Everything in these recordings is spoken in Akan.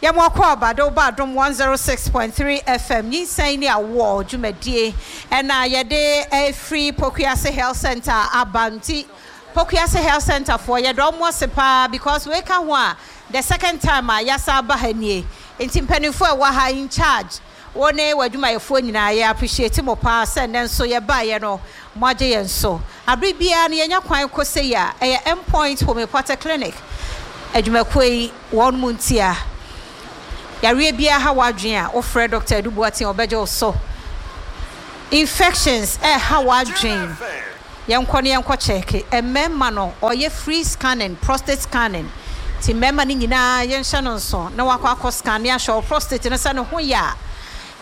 Yɛma wo akwaaba de wo ba Adom 106.3 FM Nyinsɛn ne Awoɔ dwumadie ɛna yɛde ɛfiri Pokuase Health Centre aba nti Pokuase Health Centre foɔ yɛda ɔmo ase paa because wei ka ho a the second time a yɛasan aba ha nie nti mpaninfoɔ a ɛwɔ ha in charge wo ne w'adwumayɛfoɔ nyinaa yɛ appreciate mo paa sɛ nnɛ nso yɛbaeɛ no moagye yɛn so. Abere biara no yɛnya kwan kɔ sei a ɛyɛ Endpoint Homeopathic Clinic adwumakuo yi wɔn mu ntia. Yareɛ biara ha w'adwene a wofrɛ Dɔkta Adu Boateng ɔbɛgye wo so. Infections ɛreha w'adwene yɛnkɔ na yɛnkɔ kyɛɛke. Mmarima no ɔyɛ free scanning, prostate scanning nti mmarima no nyinaa yɛnhyɛ no nso na wakɔ akɔ scan ne ahwɛ wo prostate no sɛ ne ho yɛ a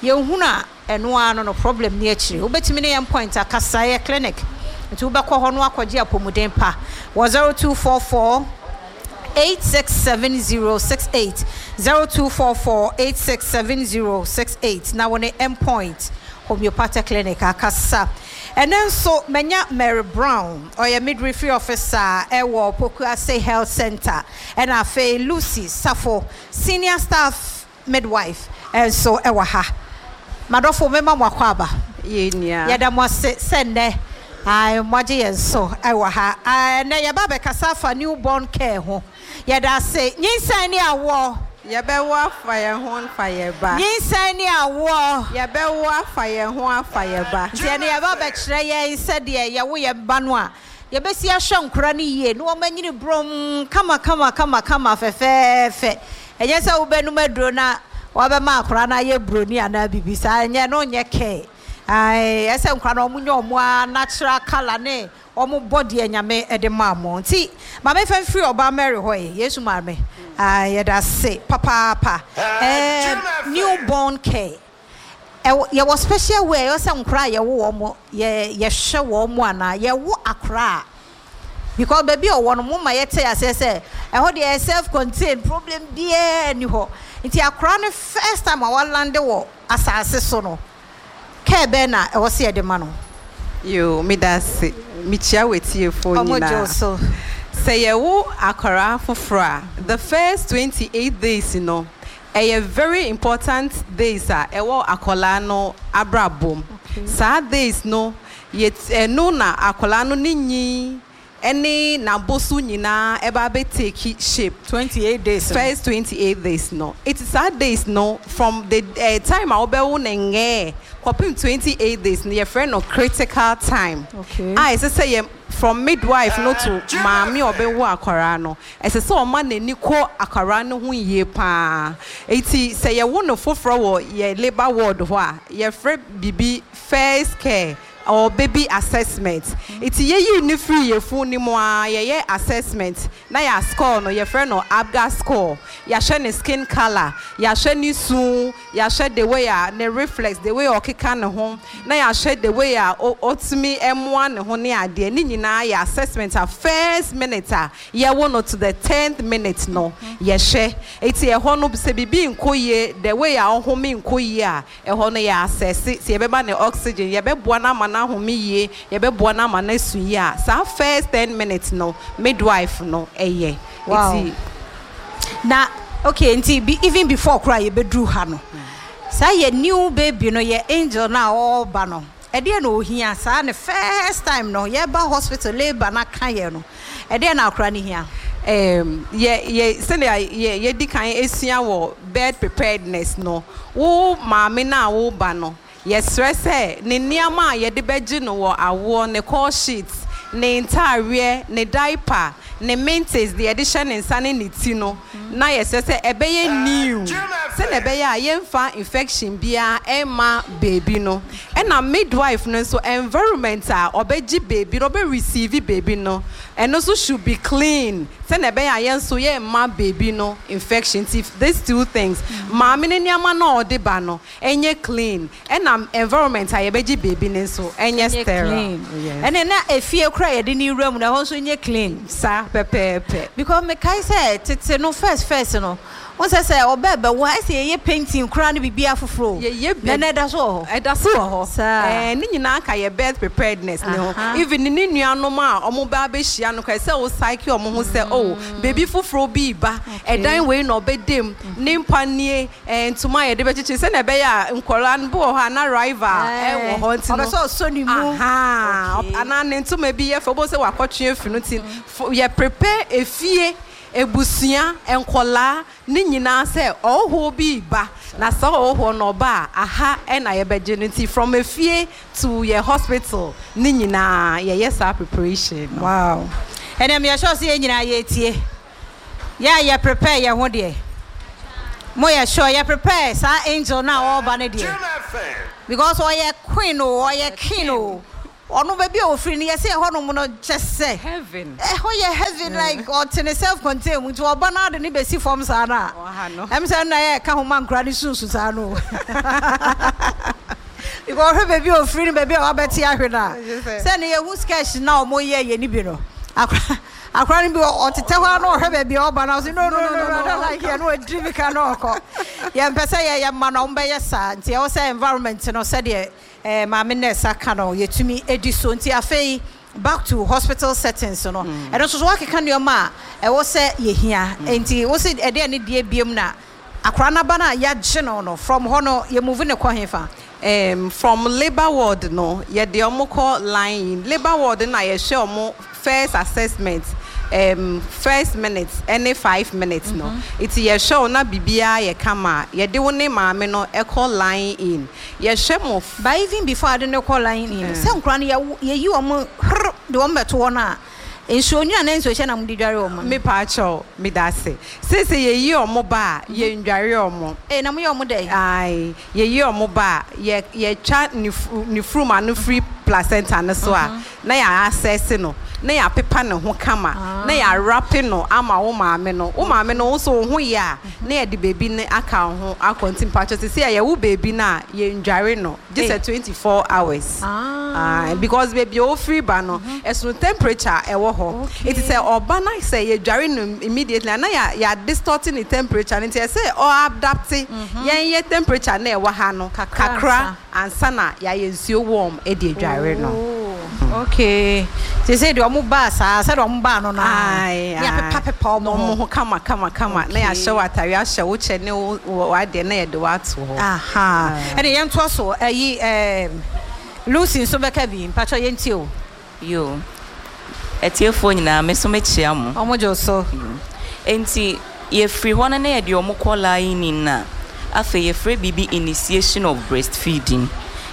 yɛnhunu a ɛno ara no no problem ni akyire. Wobɛtumi ne yɛn point akasa, ɛyɛ clinic nti wobɛkɔ hɔ na wakɔgye apɔmuden pa wɔ 0244 867068, 0244 867068 na wo ne Mpoint Homeopathic Clinic akasa. Ɛnɛ nso manya Mary Brown, ɔyɛ midwifery officer ɛwɔ Pokuase Health Center, ɛna afei Lucy Safo, senior staff Midwife nso wɔ ha. M'adɔfo mema mo akwaaba. Yɛn nua. Yɛda mo ase sɛ nnɛ ae moagye yɛn so wɔ ha. Ae ɛnnɛ yɛba abɛkasa afa new born care ho. Yɛda ase. Nyinsɛn ne awoɔ. Yɛbɛwo afa yɛn ho afa yɛn ba. Nyinsɛn ne awoɔ. Yɛbɛwo afa yɛn ho afa yɛn ba. Nti ɛnnɛ yɛba abɛkyerɛ yɛn sɛdeɛ yɛwo yɛn ba no a Yɛbɛsi ahwɛ nkora no yie na wɔanyini brɔmm kama kama kama kama fɛfɛɛfɛ. Ɛnyɛ sɛ wobɛnom aduro na woabɛma akora no ayɛ broni anaa biribi saa, ɛnyɛ, ɛno nyɛ care. Ae, ɛsɛ sɛ nkora no wɔnya wɔn ara natural colour ne wɔn body a Nyame de maa wɔn. Nti ma memfa mfiri Ɔbaa Mary hɔ yi, Yesu Maame, ae, yɛda ase papaapa. Ɛɛm, new born care. Ɛwɔ yɛwɔ special way a ɛwɔ sɛ nkora a yɛwo wɔn yɛ yɛhwɛ wɔn anaa yɛwo akora a because baabi a ɔwɔ no mo ma yɛte aseɛ sɛ ɛhɔ deɛ ɛyɛ self contained problem biara nni hɔ nti akora no first time a walande wɔ asaase so no care bɛn na ɛwɔ sɛ yɛde ma no. Yoo medase mekyia w'atiefoɔ Ɔmo gye wo nyinaa. so. Sɛ yɛwo akwaraa foforɔ a the first 28 days no Ɛyɛ very important days a ɛwɔ akwadaa no abrabɔ mu. Saa days no yɛ ɛno na akwadaa no ne nyin ɛne n'aboso nyinaa ɛba abɛ take shape. 28 days no. First 28 days no. Nti saa days no from the eh, time a wobɛwo no ngɛɛ kɔpem 28 days no yɛfrɛ no critical time. Okay. A ɛsɛ sɛ yɛ from midwife no to maame a ɔbɛwo akwadaa no Ɛsɛ sɛ ɔma n'ani kɔ akwadaa no ho yie pa ara. Enti sɛ yɛwo no foforɔ wɔ yɛn labour ward hɔ a, yɛfrɛ biribi first care or baby assessment. Enti yɛyi no firi yafunu no mu ara, yɛyɛ assessment na yɛascore no, yɛfrɛ no Apgar score. Yɛahwɛ ne skin colour, yɛahwɛ ne su, yɛahwɛ the way a ne reflex, the way a ɔkeka ne ho, na yɛahwɛ the way a ɔtumi moa ne ho ne adeɛ. Ne nyinaa yɛ assessment a first minute a yɛwo no to the tenth minute no yɛhwɛ nti ɛhɔ no sɛ biribi nkɔ yie the way a ɔhome nkɔ yie a ɛhɔ no yɛ assess sɛ yɛbɛma no oxygen yɛbɛboa no ama no ahome yie yɛbɛboa no ama no asu yie a saa first ten minutes no midwife no yɛ Wow. nti. Na okay nti be even before koraa yɛbɛduru ha no saa yɛ new baby no yɛ angel no a ɔreba no ɛdeɛn na ɔhia saa ne first time no yɛba hospital labour no aka yɛn no Ɛdeɛn na akora no hia? Erm, yɛ, yɛ, sɛdeɛ yɛ, yɛadi kan asua wɔ birth preparedness no, wo maame no a woreba no, yɛsrɛ sɛ ne nneɛma a yɛde bɛgye no wɔ awoɔ, ne call sheet, ne ntaareɛ, ne diaper, ne mintes, deɛ yɛde hyɛ ne nsa ne ne ti no, na yɛsrɛ sɛ ɛbɛyɛ new, sɛdeɛ ɛbɛyɛ a yɛmfa infection biara mma baby no. Ɛna midwife no nso environment a ɔbɛgye baby no, ɔbɛ receive baby no, ɛno nso should be clean sɛnea ɛbɛyɛ a yɛn nso yɛmma baby no infection. Nti these two things, maame no nneɛma no a ɔde ba no ɛnyɛ clean, ɛna environment a yɛbɛgye baby no nso ɛnyɛ Ɛnyɛ sterile. clean. Yes. Ɛne na efie koraa a yɛde no wura mu no ɛhɔ nso nyɛ clean. Saa pɛpɛɛpɛ. Because mekae sɛ tete no first first no, Wohu sɛ sɛ ɔbɛ bɛwo a, ɛsɛ yɛyɛ painting koraa ne biribiara foforɔ o. Yɛyɛ Na ɛnɛ ɛda so wɔ hɔ? Ɛda so wɔ hɔ. Saa. Ɛɛ, ne nyinaa ka yɛ birth preparedness no ho. Aha. Even ne nuanom a wɔba abɛhyia abusua no koraa, ɛsɛ sɛ wo psyche wɔn ho sɛ, oh, baabi foforɔ bi reba, ɛdan wei na ɔbɛda mu, ne mpa nie, ɛɛ ntoma a yɛde bɛkyekyere, sɛnea ɛbɛyɛ a nkwadaa no bi wɔ hɔ a na rival wɔ hɔ nti no, Ɔpɛ sɛ ɔsɔ ne mu. Ahaa, anaa ne ntoma bi yɛ fɛ, wobɛhu sɛ wakɔtwe afi no nti, yɛ prepare efie, abusua, nkwadaa, Ne nyinaa sɛ ɔhohoɔ bi reba na saa ɔhohoɔ no ɔba a aha na yɛbɛgye no nti from efie to yɛ hospital ne nyinaa yɛyɛ saa preparation no. Wow ɛnɛ meyɛ sure sɛ yɛn nyinaa yɛretie yɛ a yɛ prepare yɛn ho deɛ mo yɛ sure yɛ prepare saa angel no a ɔreba no deɛ because ɔyɛ queen o ɔyɛ king o Ɔno baabi a ɔfiri no yɛse ɛhɔ nom no kyɛsɛ ɛhɔ yɛ heaven like ɔte ne self contained mu nti ɔba no ade no bɛsi fam saa no a ɛm sɛ ɛno na ɛyɛ ɛka ho ma nkora no sunsu saa no because ɔhwɛ baabi a ɔfiri no baabi a wabɛte ahwe no a sɛ ne yɛhu sketch na ɔmo yɛ yɛ ne bi no akora akora no bi ɔtetɛ hɔ a na ɔhwɛ baabi a ɔba no ɔse no no no no I don't like it na ɔdiri mi ka na ɔkɔ yɛmpɛ sɛ yɛyɛ mma no ɔmo bɛyɛ saa nti ɛwɔ sɛ environment no sɛdeɛ Eh maame nurse aka no yɛtumi di so nti afei back to hospital settings no ɛno nso so woakeka nnoɔma a ɛwɔ sɛ yɛhia nti wo se ɛdeɛn ne deɛ biom na akwadaa no aba no a yɛagye no no from hɔ no yɛ move no kɔ hefa? Erm from labour ward no yɛde wɔn kɔ line in labour ward no na yɛhwɛ wɔn first assessment erm first minute ɛne 5 minutes no nti yɛhwɛ wo na biribiara yɛ kama a yɛde wo ne maame no kɔ line in yɛhwɛ mo. But even before ade no kɔ line in no sɛ nkwadaa no yɛwo yɛyi wɔn hrr de wɔn bɛto hɔ no a nsuo nwunu anaa nsuo hyɛ na mode dware wɔn no? Mepaakyɛw medase seisei yɛyi wɔn ba a yɛndware wɔn. Ee na moyɛ wɔn dɛn? Ae yɛyi wɔn ba a yɛ yɛtwa ne ne furum ano firi placenta no so a na yɛ assess no na yɛapepa ne ho kama na yɛawrape no ama wo maame no wo maame no wo nso wo ho yɛ a na yɛde baby no aka wo ho akɔ nti mpakyɛw seisei a yɛwo baby no a yɛndware no gye sɛ 24 hours ae because baabi a ofiri ba no ɛsono temperature a ɛwɔ hɔ nti sɛ ɔba na sɛ yɛdware no immediately a na yɛ yɛ distort ne temperature no nti ɛsɛ ɔ adapt yɛn yɛ temperature na ɛwɔ ha no kakra ansa na yɛayɛ nsuo warm de adware no. Oh, okay. Te sɛ deɛ ɔmo baa saa, sɛdeɛ ɔmo baa no naa, ne yɛapepa pepa ɔmo ho. Ɔmo ho kama kama kama, na yɛahyɛ wo atare, ahyɛ wo kyɛ ne wo w'adeɛ na yɛde wo ato hɔ. Aha, ɛne yɛntoa so, ɛyi ɛɛm Lucy nso bɛka bi, mpakyɛw yɛntie o. Yoo, atiefoɔ nyinaa me nso mekyea mo. Ɔmo gye wo so. Enti yɛfiri hɔ no na yɛde ɔmo kɔ lying in a, afei yɛfrɛ biribi initiation of breastfeeding.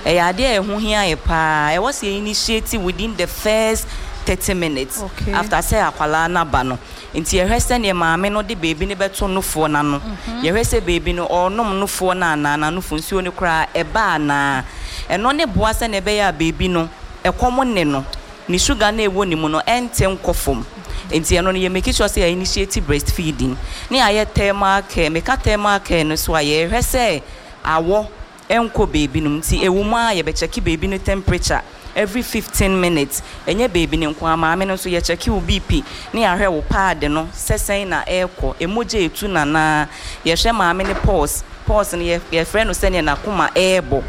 Ɛyɛ adeɛ a ɛho hia yɛ paa. Ɛwɔ sɛ yɛ initiate within the first 30 minutes after sɛ akwadaa no aba no. Nti yɛhwɛ sɛdeɛ maame no de beebi no bɛto nofoɔ no ano. Yɛhwɛ sɛ beebi no ɔrenom nofoɔ no anaa, n'anofo nsuo no koraa ɛba anaa. Ɛno ne boa sɛdeɛ ɛbɛyɛ a beebi no ɛkɔm nne no, ne sugar no a ɛwɔ ne mu no ɛnte nkɔ fam. Nti ɛno no yɛ make sure sɛ yɛ initiate breastfeeding. Ne yɛayɛ thermal care. Meka thermal care no so a, yɛhwɛ sɛ awɔ ɛnkɔ beebi no mu. Nti ɛwɔ mu ara yɛbɛkyɛke beebi no temperature every 15 minutes. Ɛnyɛ beebi no nko ara, maame no nso yɛkyɛke wo BP ne yɛahwɛ wo pad no sɛ sɛn na ɛrekɔ, ɛmogya ɛtu no anaa. Yɛhwɛ maame no pulse, pulse no yɛfrɛ no sɛdeɛ n'akoma ɛrebɔ.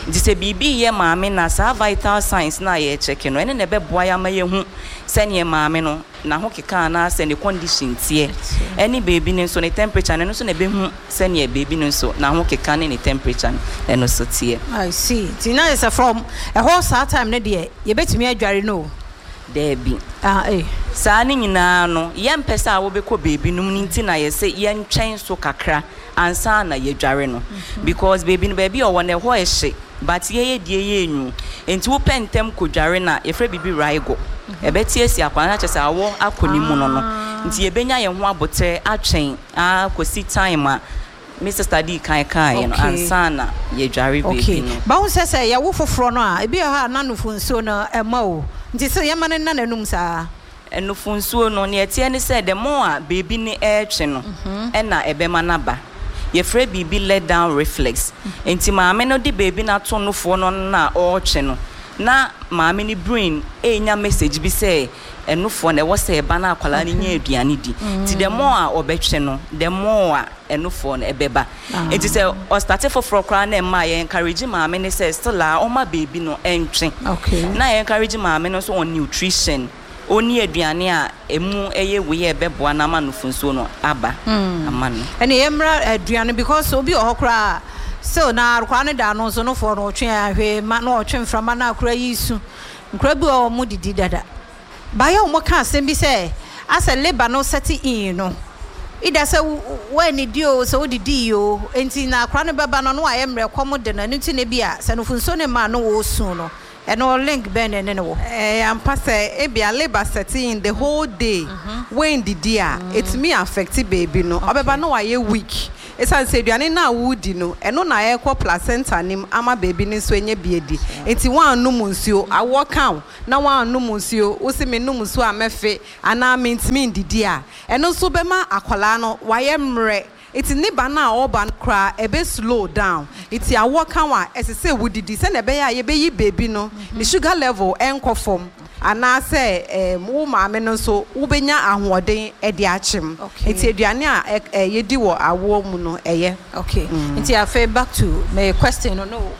Nti sɛ biribi reyɛ maame no a, saa vital signs no a yɛrekyɛke no, ɛno na ɛbɛboa yɛn ama yɛahu sɛdeɛ maame no n'ahokeka anaasɛ ne condition teɛ. Ɛne beebi no nso ne temperature no, ɛno nso na ɛbɛhu sɛdeɛ beebi no nso n'ahokeka ne ne temperature no ɛno nso teɛ. I see. Nti na kyerɛ sɛ from ɛhɔ saa time no deɛ yɛbɛtumi adware no o. Daabi. Ah eh. Saa no nyinaa no, yɛmpɛ sɛ a wobɛkɔ beebi nom no nti na yɛse yɛntwɛn so kakra ansa na yɛadware no. Because beebi no baabi a ɔwɔ no ɛhɔ ɛhye but yɛyɛ deɛ yɛ enwu. Nti wopɛ ntɛm kɔdware no a, yɛfrɛ biribi rigor. Ɛbɛte asi akwadaa no na kyerɛ sɛ awɔ akɔ ne mu no no. Nti yɛbɛnya yɛn ho aboterɛ atwɛn ara kɔsi time a me sister dii kan kaeɛ no ansa na yɛadware Okay. beebi no. But wohu sɛ sɛ yɛwo foforɔ no a, ebi wɔ hɔ a na nufu nsuo no ɛma o. Nti sɛ yɛma no nna n'anum saa? Nufu nsuo no, nea ɛteɛ ne sɛ the more a beebi no ɛretwe no ɛna ɛbɛma no aba. Yɛfrɛ biribi let down reflex. Nti maame no de beebi no ato nufoɔ no ano a ɔretwe no, na maame no brain renya message bi sɛ ɛnufoɔ no ɛwɔ sɛ ɛba na akwadaa no nya aduane di. Nti the more a ɔbɛtwe no, the more a ɛnufoɔ no ɛbɛba. Nti sɛ ɔstarte foforɔ koraa na ɛmma a, yɛ encourage maame no sɛ still a ɔmma beebi no ɛntwe. Na yɛ encourage maame no nso on nutrition. ɔnni aduane a ɛmu yɛ wei a ɛbɛboa no ama nufunsuo no aba ama no. Ɛneɛ yɛmmra aduane because obi wɔ hɔ koraa a still na akwadaa no da ano nso nofoɔ no ɔtwe a hwee mma na ɔtwe mframa na akwadaa yi resu. Nkwadaa bi wɔ hɔ a wɔn didi dada. Baeɛ a wɔka asɛm bi sɛ asɛ labour no set in no either sɛ woannidi oo sɛ wodidii oo nti na akwadaa no bɛba no na wayɛ mmerɛ kɔm de no ɛno nti na ebia sɛ nufunsuo no mma a na ɔresu no. Ɛno link bɛn na ɛne no wɔ? Ɛyɛ ampa sɛ ebia labour set in the whole day woandidi a ɛtumi affect baby no ɔbɛba na wayɛ weak ɛsiane sɛ aduane no a woredi no ɛno na ɛrekɔ placenta no mu ama baby no nso anya bi adi nti woannom nsuo awoɔ ka wo na woannom nsuo wose menom nsuo a mɛfe anaa mentumi ndidi a ɛno nso bɛma akwadaa no wayɛ mmerɛ Nti ne ba no a ɔreba no koraa ɛbɛ slow down. Nti awoɔ ka wo a, ɛsɛ sɛ wodidi sɛdeɛ ɛbɛyɛ a yɛbɛyi baby no ne sugar level ɛnkɔ fam anaasɛ ɛɛm wo maame no nso wobɛnya ahoɔden de akyem. Nti aduane a ɛ yɛdi wɔ awoɔ mu no ɛyɛ. Okay, nti afei back to me question no no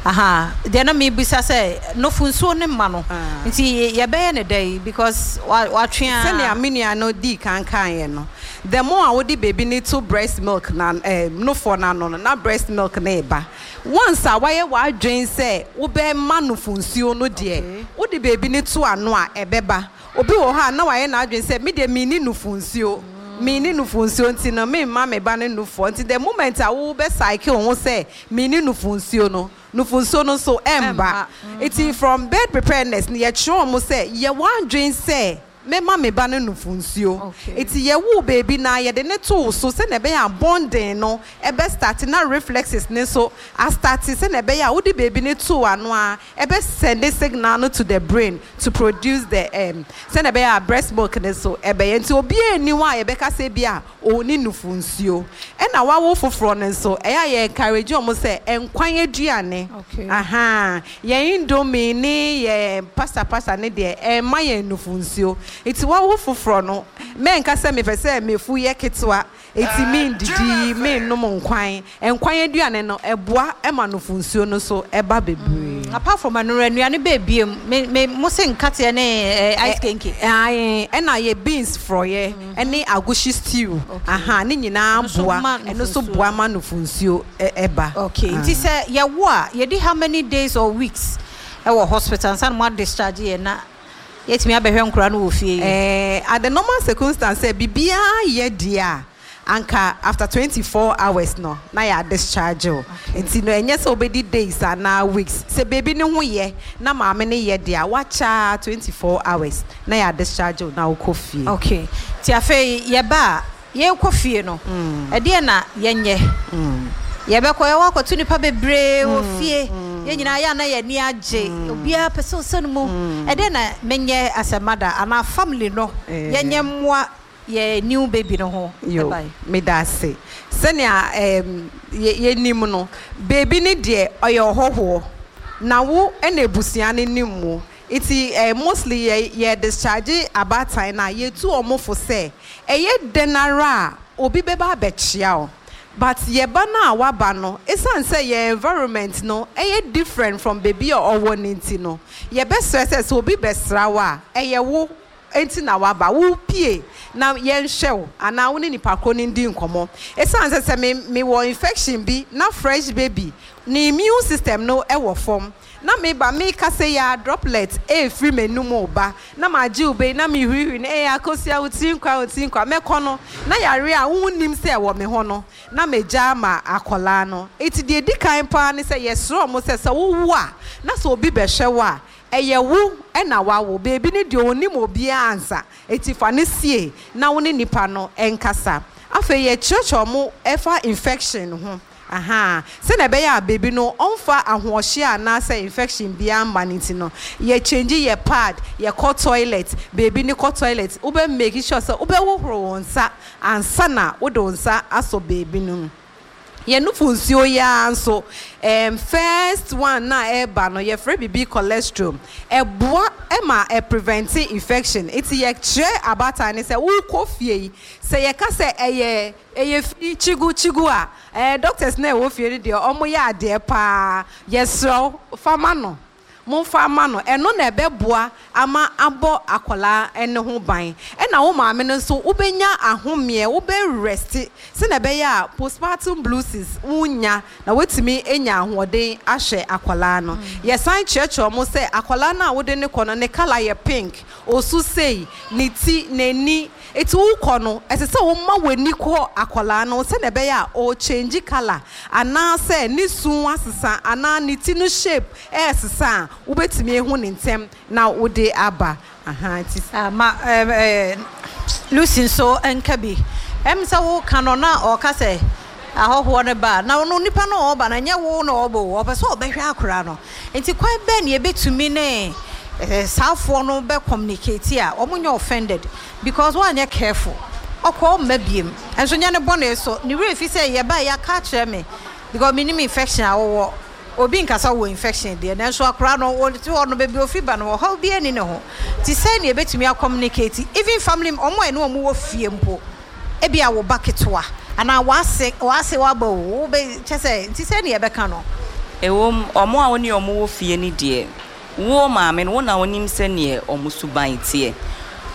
aha deɛ na mebisa sɛ nofo nsuo no mma no nti yɛbɛyɛ no dɛn because watwe a. Sɛnea me nua no dii kan kaeɛ no, The more a wode baby no to breast milk no ano eh, nofoɔ no ano no, na breast milk no reba. Once a woayɛ w'adwene sɛ wobɛma nofo nsuo no deɛ, wode baby no to ano a, ɛbɛba. Obi wɔ hɔ a, na wayɛ n'adwene sɛ, me deɛ menni nofo nsuo, menni nofo nsuo nti no, memma me ba no nufoɔ. Nti the moment a wobɛ psyche wo ho sɛ menni nofo nsuo no, nofo nsuo no nso ɛmba. Nti from birth preparedness no, yɛkyerɛ wɔn sɛ, yɛ w'adwene sɛ Mɛma me ba no nufunsuo. Nti yɛwoo baby no a, yɛde no too so sɛdeɛ ɛbɛyɛ a bonding no bɛ starte na reflexes no nso astarte sɛdeɛ ɛbɛyɛ a wode baby no too ano a, ɛbɛ sɛnde signal no to the brain to produce the um sɛdeɛ ɛbɛyɛ a breast milk no nso ɛbɛyɛ. Nti obiara nni hɔ a yɛbɛka sɛ ebia ɔnni nufunsuo. Ɛna wawo foforɔ no nso, ɛyɛ a yɛ encourage wɔn sɛ nkwan aduane, ahaa, Yɛn indomie ne yɛn pasta pasta no deɛ ɛmma yɛn nufu nsuo. Nti wawo foforɔ no, mɛnka sɛ mepɛ sɛ mefu yɛ ketewa nti mendidi, mennom nkwan. Nkwan aduane no, ɛboa ma nufu nsuo no nso ba bebree. Apart from ɛno no, nnuane bɛɛ biom? Me me mo se nkateɛ ne ice kenkey. Ae, ɛna yɛ beans frɔeɛ ne agushi stew, ahaa, ne nyinaa boa, ɛno nso boa ma nufu nsuo. Ba. Okay, nti sɛ yɛwo a, yɛdi how many days or weeks wɔ hospital ansa na mo a discharge yɛn na yɛatumi abɛhwɛ nkwadaa no wɔ fie yi? Eh, at the normal circumstance sɛ biribiara yɛ deɛ a, anka after 24 hours no na yɛ a discharge wo. Nti no ɛnyɛ sɛ wobɛdi days anaa weeks. Sɛ baby no ho yɛ na maame no yɛ deɛ a, wakyɛ ara 24 hours na yɛ a discharge wo na wokɔ fie. Okay, nti afei yɛba a, Yɛrekɔ fie no, ɛdeɛn na yɛnyɛ? Yɛbɛkɔ, yɛwɔ akɔto nnipa bebree wɔ fie. Yɛn nyinaa yɛ a na yɛn ani agye. Obiara pɛ sɛ ɔsɔ ne mu. Ɛdeɛn na menyɛ as a mother anaa family no yɛnyɛ mmoa yɛn new baby no ho Yo, ban? meda ase. Sɛnea ɛɛm yɛ yɛnim no, baby no deɛ ɔyɛ ɔhɔhoɔ, na wo na abusua no nim wo. Nti eh mostly yɛ yɛ discharge abaatan no a yɛtu wɔn fo sɛ ɛyɛ dɛn ara a obi bɛba abɛkyea wo but yɛ ba no a waba no ɛsiane sɛ yɛn environment no ɛyɛ different from baabi a ɔwɔ no nti no yɛbɛsrɛ sɛ sɛ obi bɛsra wo a ɛyɛ wo nti na waba wo pue na yɛnhwɛ wo anaa wo ne nipa korɔ no ndi nkɔmmɔ ɛsiane sɛ sɛ me mewɔ infection bi na fresh baby ne immune system no wɔ fam Na me ba, mekasa yi ara droplet refiri m'anum reba, na magye wo bɛ yi, na mehurihuri no, ee Akosua, wo tiri nkwa, wo tiri nkwa. Mɛkɔ no, na yareɛ a wonnim sɛ ɛwɔ me ho no, na magya ama akwadaa no. Enti deɛ ɛdi kan pa ara ne sɛ yɛsrɛ wɔn sɛ, sɛ wowo a, na sɛ obi bɛhwɛ wo a, ɛyɛ wo na woawo. Beebi no deɛ ɔnnim obiara ansa, enti fa no sie na wo ne nipa no nkasa. Afei yɛkyerɛkyerɛ wɔn ɛfa infection ho. Ahaa, sɛnea ɛbɛyɛ a baby no ɔmfa ahoɔhyeɛ anaasɛ infection biara mma no nti no, yɛ change yɛ pad, yɛkɔ toilet, baby no kɔ toilet, wobɛ make sure sɛ wobɛhohoro wo nsa ansa na wode wo nsa asɔ baby no mu. Yɛn nufu nsuo yi ara nso, ɛɛm first one no a ɛreba no, yɛfrɛ biribi colostrum. Ɛboa ma ɛ prevent infection. Nti yɛkyerɛ abaatan no sɛ wokɔ fie yi, sɛ yɛka sɛ ɛyɛ Ɛyɛ fi kyigu kyigu a ɛɛ doctors no a ɛwɔ fie no deɛ ɔmo yɛ adeɛ paa yɛsrɛ wo fa ma no. Momfa mma no. Ɛno na ɛbɛboa ama abɔ akwadaa no ho ban. Ɛna wo maame no nso, wobɛnya ahomeɛ, wobɛ rest sɛdeɛ ɛbɛyɛ a postpartum blues wonnya na woatumi anya ahoɔden ahwɛ akwadaa no. Yɛsan kyerɛkyerɛ wɔn sɛ akwadaa no a wode no kɔ no, ne colour yɛ pink, ɔsu sei, ne ti, n'ani. Enti wokɔ no, ɛsɛ sɛ woma w'ani kɔ akwadaa no ho sɛdeɛ ɛbɛyɛ a ɔrekyɛngyi colour anaasɛ ne su asesa anaa ne ti no shape ɛresesa a, wobɛtumi ahu no ntɛm na wode aba. Ahaa, nti. Ah, ma ɛɛ eh, Lucy nso nka bi. Ɛm sɛ woka no na ɔka sɛ ahɔhoɔ no ba a, na ɔno nipa no a ɔreba no, ɛnyɛ wo na ɔreba o, ɔpɛ sɛ ɔbɛhwɛ akwadaa no. Nti kwan bɛn na yɛbɛtumi ne eh, saafoɔ no bɛ communicate a wɔnyɛ offended because woanyɛ careful, ɔkɔ ɔmma biem. Nso nyɛ ne bɔne so, ne werɛ fi sɛ yɛbaeɛ yɛaka akyerɛ me because menim infection a wowɔ. Obi nka sɛ ɔwɔ infection deɛ, nanso akwadaa no, ɔte hɔ no, baabi a ɔfiri ba no, ɔhaw biara nni ne ho. Nti sɛn na yɛbɛtumi a communicate, even family, wɔn a yɛne wɔn wɔ fie mpo, ebia wo ba ketewa, anaa w'ase, w'ase w'aba o, wobɛ, kyerɛ sɛ, nti sɛn na yɛbɛka no? Ɛwom, wɔn a wo ne wɔn wɔ fie no deɛ, wo maame no, wo na wonim sɛdeɛ wɔn suban teɛ.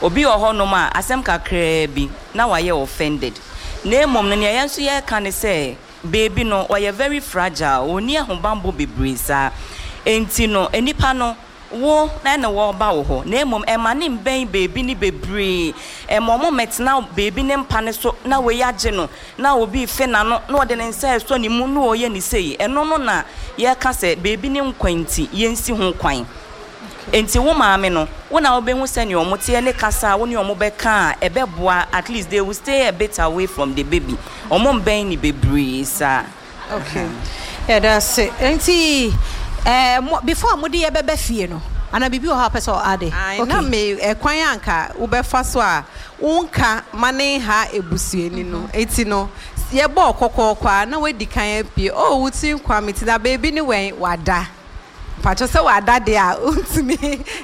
Obi wɔ hɔnom a, asɛm kakraa bi, na wayɛ offended. Na mmom no, nea yɛn nso yɛreka ne sɛ, Baby no ɔyɛ very fragile, ɔnni ahobanbɔ bebree saa. Enti no nnipa no, wo na wɔreba wo hɔ, na mmom ɛmma no mmɛn baby no bebree. Ɛmma wɔn mmɛtena baby no mpa no so na wei agye no, na obi refe n'ano, na ɔde ne nsa resɔ ne mu, na ɔreyɛ no sei. Ɛno no na yɛreka sɛ baby no nkwa nti yɛnsi ho kwan. Enti wo maame no, wo na wobɛhu sɛdeɛ wɔn teɛ ne kasa a wo ne wɔn bɛka a ɛbɛboa, at least they will stay a bit away from the baby, wɔn mmɛn no bebree saa. Okay, yɛda ase. Enti eh, mo, before a mode yɛ bɛba fie no, anaa biribi wɔ hɔ a wopɛ sɛ ɔ ade? Ae, Okay. na me ɛkwan a anka wobɛfa so a wonka ma ne nha abusuani no nti no, yɛbɔɔ kɔkɔɔkɔ a na woadi kan apue, oh wo tiri nkwa me ti na baabi ne wɛn, wada. Mpakyɛw sɛ wada deɛ a wontumi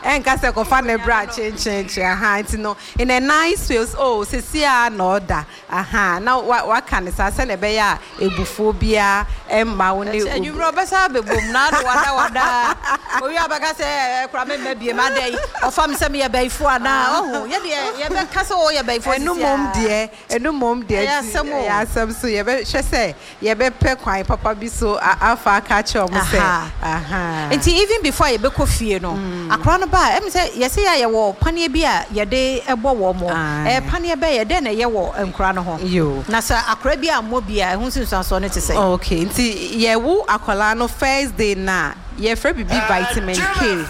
nka sɛ kɔfa no bra kyenkyenkyen ahaa nti no in a nice way ɔse oh sɛsi ara na ɔda ahaa na waka no saa sɛdeɛ ɛbɛyɛ a abufuo biara mma wo ne Ɛkyɛ anwummerɛ ɔbɛsan abɛbom na ade wada wada owie a ɔbɛka sɛ ɛɛ koraa memma biem adɛn ɔfa me sɛ meyɛ bayifoɔ anaa ɔho yɛdeɛ yɛbɛka sɛ woyɛ bayifoɔ Ɛno sisi mmom ara deɛ ɛno mmom deɛ ɛyɛ nti asɛm o. ɛyɛ asɛm so yɛbɛhwɛ sɛ Yɛbɛpɛ kwan papa bi so afa aka akyerɛ wɔn sɛ, Ahaa. Ahaa. Nti even before a yɛbɛkɔ fie no, akwadaa no ba a, ɛm sɛ yɛse yɛ a yɛwɔ paneɛ bi a yɛde bɔ wɔn. Ɛyɛ Ae. paneɛ bɛn? Ɛdɛn na ɛyɛ wɔ nkwadaa no ho? Yoo. Na sɛ akwadaa bi ammɔ bi a, ɛho nsunsuansoɔ no te sɛn? Okay, nti yɛwo akwadaa no first day no a, yɛfrɛ biribi vitamin K.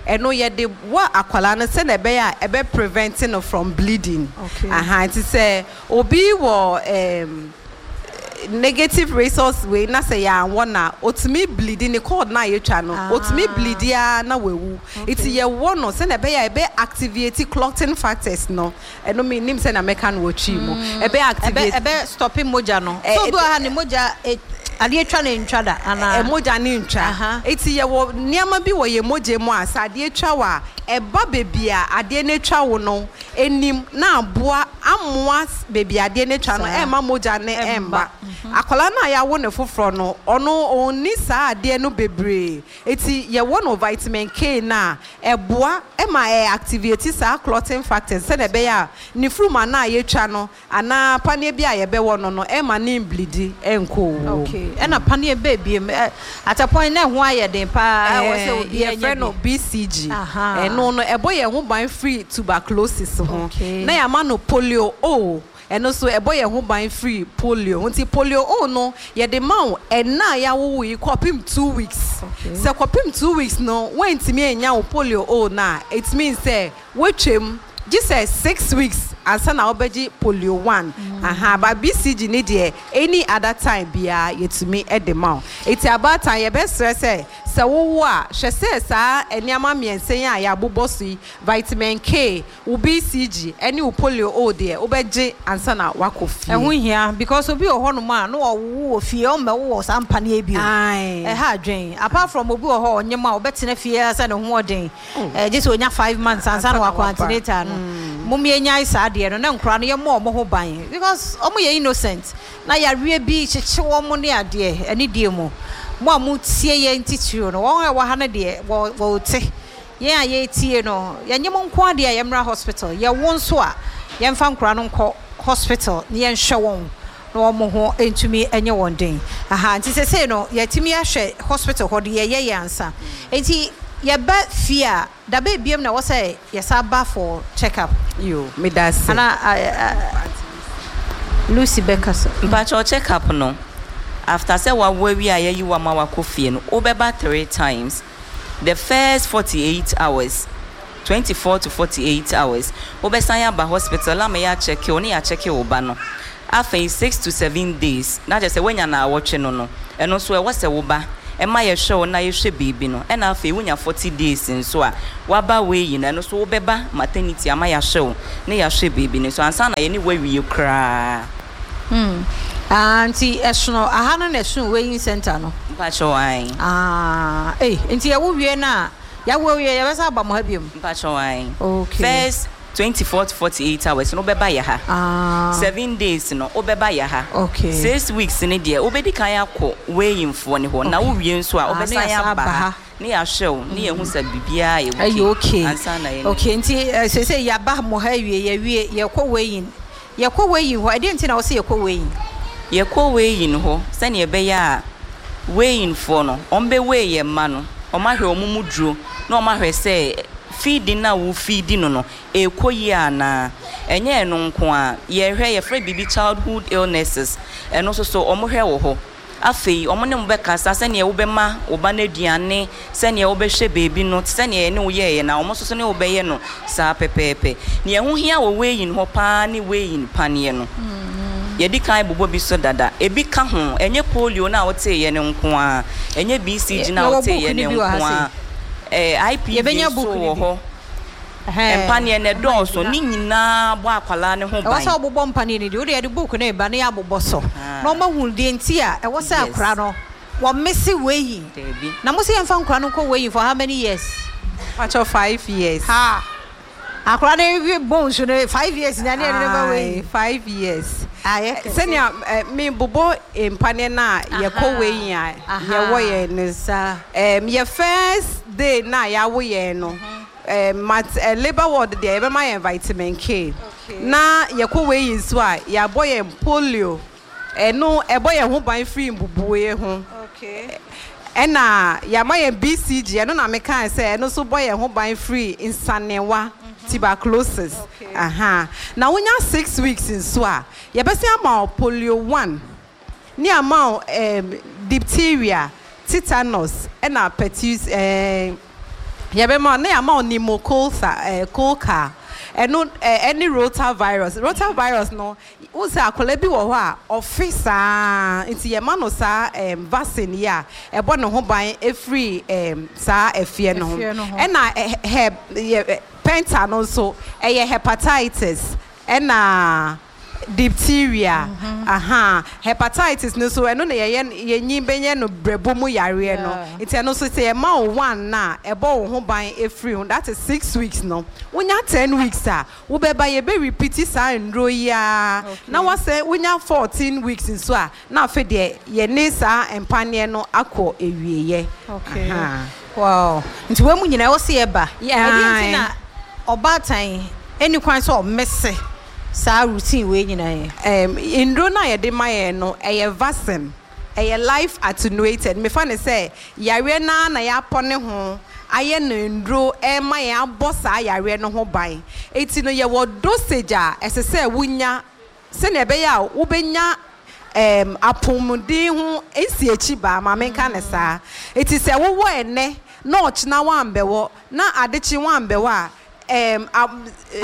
Ɛno yɛde wɔ akwadaa no sɛdeɛ ɛbɛyɛ a ɛbɛ prevent no from bleeding. Okay. Ahaa, nti sɛ obi wɔ ɛɛm. negative resource wei na sɛ yɛanwɔ no a otumi bleedi ne cord no a yɛtwa no otumi bleedi ara na wawu nti yɛwɔ no sɛnea ɛbɛyɛ a ɛbɛ activate clotting factors no ɛno mennim sɛnea mɛka no wɔ twi mu ɛbɛ activate ɛbɛ stop mogya no so obi wɔ ha ne mogya adeɛ twa no ntwa da anaa mogya no ntwa nti yɛwɔ nneɛma bi wɔ yɛn mogya mu a sɛ adeɛ twa wo a ɛba baabi a adeɛ no atwa wo no anim na aboa amoa baabi a adeɛ no atwa no ɛmma mogya no ɛmma. Akwadaa no a yɛawo no foforɔ no, ɔno ɔnni saa adeɛ no bebree nti yɛwɔ no vitamin K no a, ɛboa ma ɛ activate saa clotting factors sɛdeɛ ɛbɛyɛ a ne funuma no a yɛatwa no anaa paneɛ bi a yɛbɛwɔ no no ɛmma no mblidi nkɔ owuo mu. Okay, ɛna paneɛ bɛɛ biem ɛ at a point na ɛho ayɛ den paa ɛwɔ sɛ obiara nya bi. Yɛfrɛ no BCG. Ahaa. Ɛno no ɛbɔ yɛn ho ban firi tuberculosis ho. Okay. Na yɛama no polio O, ɛno nso ɛbɔ yɛn ho ban firi polio ho. Nti polio O no yɛde ma wo ɛnna a yɛawo wo yi kɔpem 2 weeks. Okay. Sɛ kɔpem 2 weeks no woantumi annya wo polio O no a, it means sɛ woatwam gye sɛ 6 weeks ansa na wobɛgye polio 1. Aha, but BCG ne deɛ any other time biara yɛtumi de ma wo. Nti abaatan yɛbɛsrɛ sɛ sɛ wowo a hwɛ sɛ saa nneɛma mmiɛnsa yi a yɛabobɔ so yi, vitamin K, wo BCG ne wo polio O deɛ wobɛgye ansa na woakɔ fie. Ɛho hia because obi wɔ hɔnom a na ɔwowo wɔ fie ɔmmɛwo wɔ saa mpaneɛ bio. Ae. Ɛha adwen. Apart from obi wɔ hɔ a ɔnyem a ɔbɛtena fie ara sɛ ne ho ɔden. Gye sɛ ɔnya 5 months ansa na wakɔ antenatal no. Mom yɛnyae saa adeɛ no na nkwadaa no yɛmmɔ wɔn ho ban because wɔn yɛ innocent na yareɛ bi kyekye wɔn ne adeɛ anidie mu. Mo a motie yɛn titiriw no, wɔn a ɛwɔ ha no deɛ wɔ wɔte. Yɛn a yɛretie no, yɛnyɛ mo nko ara deɛ a yɛmmra hospital. Yɛwo nso a, yɛmfa nkwadaa no nkɔ hospital na yɛnhwɛ wɔn na wɔn ho ntumi nyɛ wɔn den. Aha, nti sesei no, yɛatumi ahwɛ hospital hɔ deɛ yɛyɛ yɛn ansa. Nti yɛba fie a, da bɛn biom na ɛwɔ sɛ yɛsan ba for check up? Yo, meda ase. Ana Lucy bɛkasa. Mpakyɛw check up no after sɛ wawo awie a yɛayi wo ama wakɔ fie no wobɛba 3 times. The first 48 hours, 24 to 48 hours, wobɛsan aba hospital ama yɛakyɛke wo ne yɛakyɛke wo ba no. Afei 6 to 7 days na kyerɛ sɛ woanya naawɔtwe no, ɛno nso ɛwɔ sɛ wo ba ɛma yɛhwɛ wo na yɛhwɛ biribi no. Ɛna afei wonya 40 days nso a waba wei no, ɛno nso wobɛba maternity ama yɛahwɛ wo ne yɛahwɛ biribi no nso ansa na yɛne woawie koraa. Ah, nti ɛsono aha no na ɛsono weighing center no? Mpakyɛw, ae. Ah, ei, nti yɛwo wie no a, yɛawo awie, yɛbɛsan aba mo ha biom? Mpakyɛw, ae. Okay. First 24 to 48 hours no, wobɛba yɛ ha. 7 days no, wobɛba yɛ ha. 6 weeks no deɛ, wobɛdi kan akɔ weighingfoɔ ne hɔ na wowie nso a, Ah, ne wobɛsan yɛasan aba aba ha ha. Ne yɛahwɛ wo ne yɛhu sɛ biribiara yɛ ɛyɛ okay ansa na yɛne Okay, nti seesei yɛaba mo ha awie, yɛawie, yɛkɔ weighing. Yɛkɔ weighing hɔ, ɛdeɛn nti na wɔsɛ yɛkɔ weighing? Yɛkɔ weighing hɔ sɛnea ɛbɛyɛ a weighingfoɔ no, wɔn bɛ weigh yɛn mma no, wɔn ahwɛ wɔn mu duro na wɔn ahwɛ sɛ feeding na wo feed no, ɛrekɔ yie anaa. Ɛnyɛ ɛno nko a, yɛhwɛ, yɛfrɛ biribi childhood illnesses, ɛno nso so wɔn hwɛ wɔ hɔ. Afei wɔn ne mo bɛkasa sɛnea wobɛma wo ba no aduane, sɛnea wobɛhwɛ beebi no, sɛnea yɛne wo yɛɛyɛ na wɔn nso so ne wo bɛyɛ no saa pɛpɛɛpɛ. Nea ɛho hia wɔ weighing hɔ paa ne weighing paneɛ no. Yɛdi kan bobɔ bi so dada, ebi ka ho. Ɛnyɛ polio no a woteeɛ no nko a, ɛnyɛ BCG no a Yɛwɔ book woteeɛ no no bi wɔ ha nko a, sei. IPV Yɛbɛnya nso book no wɔ bi. hɔ. Mpaneɛ no ɛdɔɔso ne nyinaa bɔ akwalaa ne ho Ɛwɔ ban. sɛ wobobɔ mpaneɛ no di wode, yɛde book no ba na yɛabobɔ so na ɔmahu deɛ nti a ɛwɔ sɛ akora no wɔmese weighing. Daabi. Na mo sɛ yɛmfa nkora no nkɔ weighing for how many years? Pakyɛ, 5 years. Ha, akora no wi bones no 5 years na ne yɛde no ba weighing? 5 years. Ayɛ kɛse. Sɛnea me bobɔ mpaneɛ no a yɛkɔ weighing a yɛwɔ yɛn no saa. Yɛ first day na yɛawo yɛn no, mat labour ward deɛ, yɛbɛma yɛn vitamin K. Na yɛkɔ weighing nso a, yɛabɔ yɛn polio, ɛno ɛbɔ yɛn ho ban firi mbubue ho. Ɛna yɛama yɛn BCG, ɛno na mekaa sɛ ɛno nso bɔ yɛn ho ban firi nsanewa, tuberculosis. Aha na wonya 6 weeks nso a, yɛbɛsɛ ama wo polio one ne ama wo diphtheria, tetanus ɛna pertussis. Yɛbɛma na yɛama wo pneumococcal coccal, ɛno ɛne rotavirus. Rotavirus no, wo sɛ akwadaa bi wɔ hɔ a ɔfe saa, nti yɛma no saa vaccine yi a ɛbɔ ne ho ban efiri saa ɛfeɛ no ho. Ɛfeɛ no ho. Ɛna hep yɛ penta no nso, ɛyɛ hepatitis ɛna diphtheria. Aha, hepatitis no nso, ɛno na yɛyɛ yɛnyi bɛyɛ no brɛbo mu yareɛ no. Nti ɛno nso, sɛ yɛma wo one na ɛbɔ wo ho ban efiri ho, that is 6 weeks no. Wonya 10 weeks a, wobɛba, yɛbɛ repeat saa nnuro yi ara. Na wasɛ wonya 14 weeks nso a, na afei deɛ yɛne saa mpaneɛ no akɔ ewieɛ. Okay. Aha. Wow, nti wɔn mu nyinaa ɛwɔ sɛ yɛba? Yeah. Ɛdeɛ nti na ɔbaatan ɛni kwan sɛ ɔmese saa routine wei nyinaa yɛ? Nnuro no a yɛde ma yɛn no, ɛyɛ vaccine, ɛyɛ live attenuated. Mefa ne sɛ yareɛ naa na yɛapɔ ne ho ayɛ no nnuro ɛma yɛn abɔ saa yareɛ no ho ban. Eti no, yɛwɔ dosage a ɛsɛ sɛ wonya sɛnea ɛbɛyɛ a wobɛnya apɔmuden ho nsi akyi baa maame nka ne saa. Eti sɛ wowɔ ɛnɛ na ɔkyena wambɛwɔ na adekye wambɛwɔ a,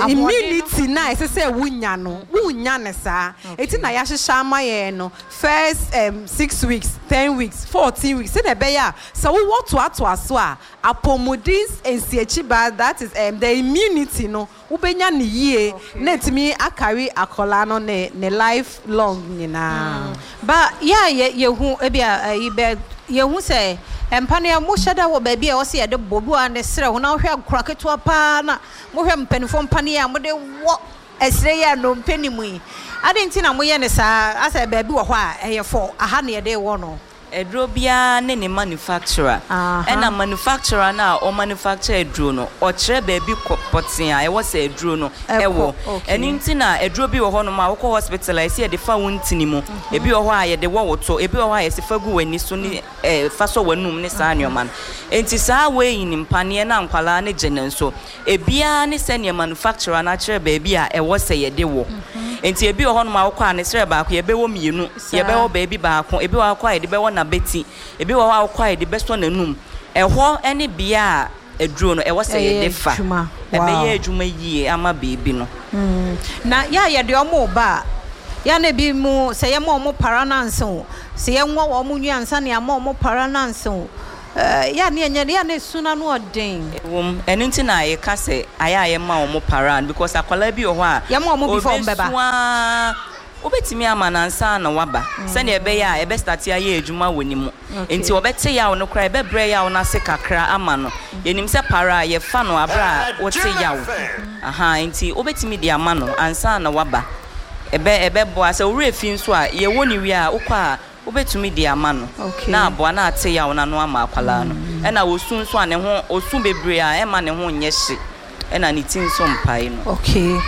immunity na ɛsɛ sɛ wonya no, wonya ne saa. Eti na yɛahyehyɛ ama yɛn no, first 6 weeks, 10 weeks, 14 weeks, sɛnea ɛbɛyɛ a sɛ wowɔ toatoa so a, apɔmuden nsiakyi baa, that is the immunity no, wobɛnya ne yie na etumi akari akɔlaa no ne life long nyinaa. Ba yɛ a yɛ yɛhu ebi a ɛyi bɛ yɛhu sɛ mpa no yɛ mo hyɛ da wɔ baabi a ɛwɔ sɛ yɛde bɔ bi wɔ a ne serɛ ho, na wohwɛ akora ketewa paa na mohwɛ mpanimfoɔ mpa no yɛ a mode wɔ ɛserɛ yi a nnompe ne mu yi ade nti na moyɛ ne saa, asɛ baabi wɔ hɔ a ɛyɛ fɔ aha na yɛde wɔ no. Aduro biara ne ne manufacturer. Ɛna manufacturer no a ɔmanufacture aduro no, ɔkyerɛ baabi kɔ pɔtee a ɛwɔ sɛ aduro no wɔ. Ɛno nti na aduro bi wɔ hɔnom a wokɔ hospital a yɛse yɛde fa wo ntini mu, ebi wɔ hɔ a yɛde wɔ wo to, ebi wɔ hɔ a yɛse fa gu w'ani so ne fa sɔ w'anum ne saa nneɛma no. Nti saa wei mpaneɛ no a nkwadaa no gye no nso, Ebiara ne sɛdeɛ manufacturer no akyerɛ baabi a ɛwɔ sɛ yɛde wɔ. Nti ebi wɔ hɔnom a wokɔ a ne serɛ baako yɛbɛwɔ mmienu, yɛbɛwɔ baabi baako, ebi wɔ hɔ a wokɔ a yɛde bɛwɔ n'abati, ebi wɔ hɔ a wokɔ a yɛde bɛsɔ n'anum. Ɛhɔ ne bea a aduro no ɛwɔ sɛ yɛde fa. Ɛbɛyɛ adwuma yie ama baabi no. Na yɛ a yɛde wɔn reba a, yɛ a na ebi mo sɛ yɛma wɔn para no ansa o, sɛ yɛnwɔ wɔn nwi ansa na yɛama wɔn para no ansa o, Yɛ a ne ɛnyɛ yɛ a na esu no ano ɔden. Ɛwom, ɛno nti na yɛka sɛ ayɛ a yɛma wɔn para no because akwadaa bi wɔ hɔ a Yɛma wɔn before wɔn bɛba. ɔbɛsu ara, wobɛtumi ama no ansa na waba sɛdeɛ ɛbɛyɛ a ɛbɛ starte ayɛ adwuma wɔ ne mu. Nti ɔbɛte yaw no koraa, ɛbɛbrɛ yaw no ase kakra ama no. Yɛnim sɛ para a yɛfa no aberɛ a wote yaw. Ahaa, nti wobɛtumi de ama no ansa na waba. Ɛbɛ ɛbɛboa. Sɛ wo werɛ fi nso a, yɛwɔ no wie a, wokɔ a Wobɛtumi de ama no na aboa na ate yaw no ano ama akwadaa no. Ɛna ɔsu nso a ne ho, ɔsu bebree a ɛmma ne ho nyɛ hye ɛna ne ti nso mpae no. Okay.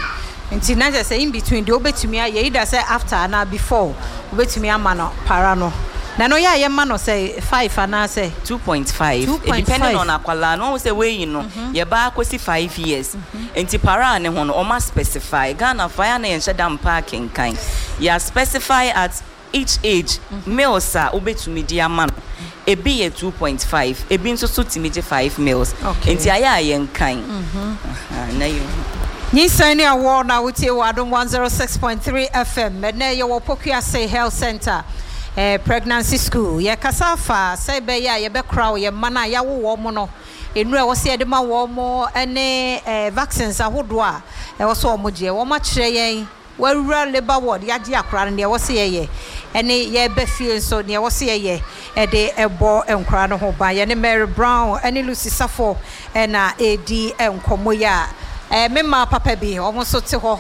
Nti na kyerɛ sɛ in between deɛ wobɛtumi ayɛ either sɛ after anaa before wobɛtumi ama no para no. Na ɛno yɛ a yɛma no sɛ five anaa sɛ? 2.5 2.5. Depending on akwadaa no. Wahu sɛ wei no yɛba akɔsi five years nti para a ne ho no wɔn aspecify. Ghanafoɔ ayɛ a na yɛnhyɛ da mpa akenkan. Yɛ aspecify at Each age, mils a wobɛtumi de ama no, ebi yɛ 2.5, ebi nso so tumi gye 5 mils. Nti ayɛ a yɛnkan na yɛhu. Nyinsɛn ne awoɔ na wotie wɔ Adom 106.3 FM. Ɛnnɛ yɛwɔ Pokuase Health Centre, Pregnancy School. Yɛkasa afa sɛ ɛbɛyɛ a yɛbɛkora yɛn mma no a yɛawo wɔn no, nnuro a ɛwɔ sɛ yɛde ma wɔn ne vaccines ahodoɔ a ɛwɔ sɛ wɔgyeɛ. Wɔakyerɛ yɛn. Wawura labour ward yagye akora no nea ɛwɔ sɛ yɛyɛ ɛne yɛreba fie nso nea ɛwɔ sɛ yɛyɛ ɛde ɛbɔ nkora no ho ban. Yɛne Mary Brown ɛne Lucy Safo ɛna ɛredi nkɔmmɔ yi a ɛɛ me mmaa papa bi wɔn nso te hɔ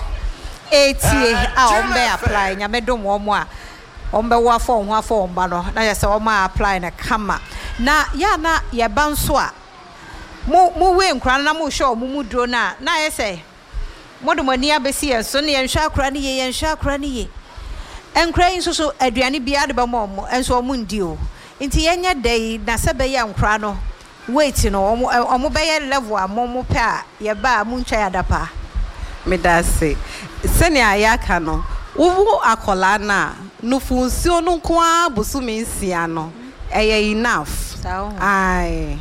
ɛretie a wɔn bɛ apply Nyame dom wɔn a wɔn bɛwo afa wɔn ho afa wɔn ba no na yɛ sɛ wɔn a apply no kama na yɛ a na yɛba nso a mo mo wei nkora no na mo hwɛ wɔn mu duro no a na ayɛ sɛ Mode mo ani abɛsi yɛn so, na yɛnhwɛ akora no yie, yɛnhwɛ akora no yie. Nkora yi nso so, aduane biara de bɛma wɔn, nso wɔn nndi o. Nti yɛnyɛ dɛn na sɛ ɛbɛyɛ a nkora no weight no, wɔn, wɔn bɛyɛ level a mo, mopɛ a, yɛba a montwa yɛn adapaa? Meda ase. Sɛnea yɛaka no, wowo akwadaa no a, nufu nsuo no nko ara bosome nsia no, ɛyɛ enough. Saa o. Ae.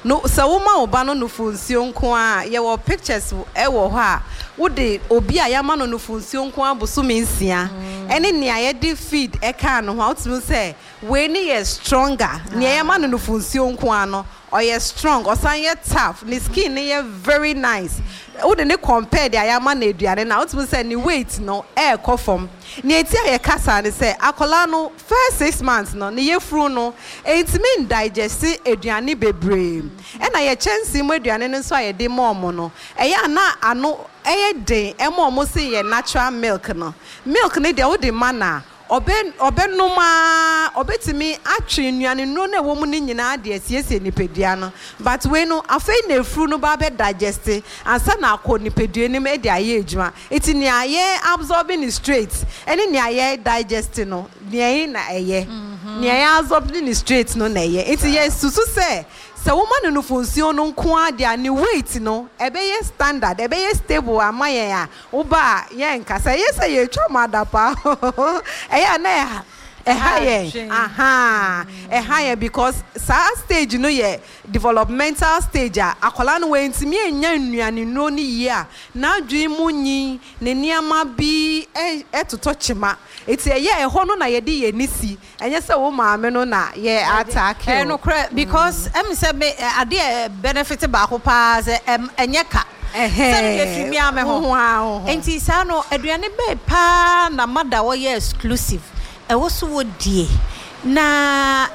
No sɛ woma wo ba no nufu nsuo nko ara a, yɛwɔ pictures wɔ hɔ a wode obi a yɛama no nufu nsuo nko ara bosome nsia ɛne nea yɛde feed kaa ne ho a, wotumi hu sɛ wei no yɛ stronger. Nea yɛma no nufu nsuo nko ara no, ɔyɛ strong, ɔsan yɛ tough, ne skin no yɛ very nice. Wode no compare deɛ yɛama no aduane no a, wotumi hu sɛ ne weight no ɛrekɔ fam. Nea enti a yɛka saa ne sɛ, akwadaa no first 6 months no, ne yafunu no ntumi ndigest aduane bebree. Ɛna yɛ kyɛnsee mu aduane no nso a yɛde ma wɔn no, ɛyɛ a na ano yɛ den ma wɔn sen yɛn natural milk no. Milk no deɛ wode ma no a, ɔbɛ ɔbɛnom ara, ɔbɛtumi atwe nnuane nnuro no a ɛwɔ mu no nyinaa de asiesie nipadua no. But wei no, afei na afuru no ba abɛ digest ansa na akɔ nipadua no mu de ayɛ adwuma. Nti nea yɛ absorbing no straight ɛne nea yɛ digest no, nea ɛhe na ɛyɛ? Nea yɛ absorbing no straight no na ɛyɛ. Nti yɛ susu sɛ, sɛ woma no nufu nsuo no nko ara deɛ a, ne weight no ɛbɛyɛ standard, ɛbɛyɛ stable ama yɛn a, woba a yɛnka sɛ ɛyɛ sɛ yɛtwa mo adapaa. Ɛyɛ a na ɛha ɛha yɛn. Ahaa, ɛha yɛn because saa stage no yɛ developmental stage a akwadaa no wantumi annya nnuane nnuro no yie a, n'adwene mu nyin, ne nneɛma bi totɔ kyema. Nti ɛyɛ ɛhɔ no na yɛde yɛn ani si, ɛnyɛ sɛ wo maame no na yɛ attack Ɛyɛ wo. nokorɛ because ɛm sɛ me adeɛ benefit baako paa sɛ ɛm ɛnyɛ ka sɛ no deɛ firi me ara me Wo ho ho ara wo ho. Nti saa no aduane bɛn paa na mother ɔyɛ exclusive ɛwɔ so wɔ die na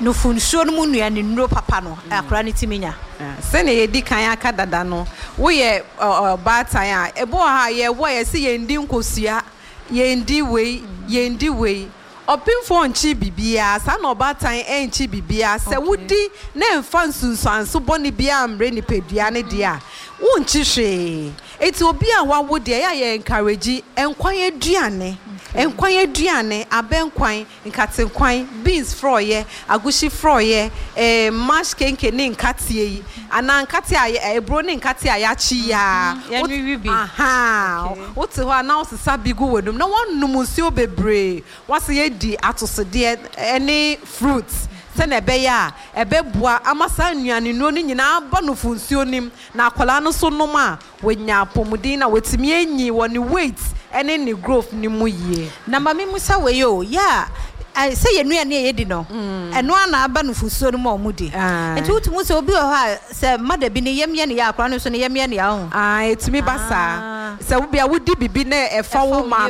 nufu nsuo no mu nnuane nnuro papa no akwadaa no tumi nya? Sɛnea yɛadi kan aka dada no, woyɛ ɔbaatan a, ebi wɔ hɔ a yɛwo a yɛse yɛndi nkosua, yɛndi wei, yɛndi wei. Ɔpemfoɔ nkyi biribiara, saa na ɔbaatan nkyi biribiara. Sɛ wodi na ɛmfa nsunsuanso bɔne biara mmrɛ nipadua no deɛ a, wonkyi hwee. Enti obi a wawo deɛ, ɛyɛ a yɛ encourage nkwan aduane, nkwan aduane, abɛnkwan, nkatenkwan, beans frɔeɛ, agushi frɔeɛ, eh, mash kenke ne nkateɛ yi, anaa nkateɛ a aburo ne nkateɛ a yɛakye yi ara. Yɛnwewe bi. Ahaa. Wote hɔ a na wosesa bi gu w'anum na woanom nsuo bebree. Woasan adi atosodeɛ ne fruits sɛdeɛ ɛbɛyɛ a ɛbɛboa ama saa nnuanennuro no nyinaa aba nufunsuo no mu na akwadaa no nso nom a, wanya apɔmuden na watumi anyin wɔ ne weight ne ne growth no mu yie. Na ma memmisa wei o, yɛ a sɛ yɛn nnuane a yɛdi no, ɛno ara na aba nufusuo no mu a wɔdi? Nti wotumi hu sɛ obi wɔ hɔ a sɛ mother bi ne yam yɛ no ya a, akwadaa no nso ne yam yɛ no ya, wohu? Ae, ɛtumi ba saa. Sɛ wobia wodi biribi na ɛfa wo maame.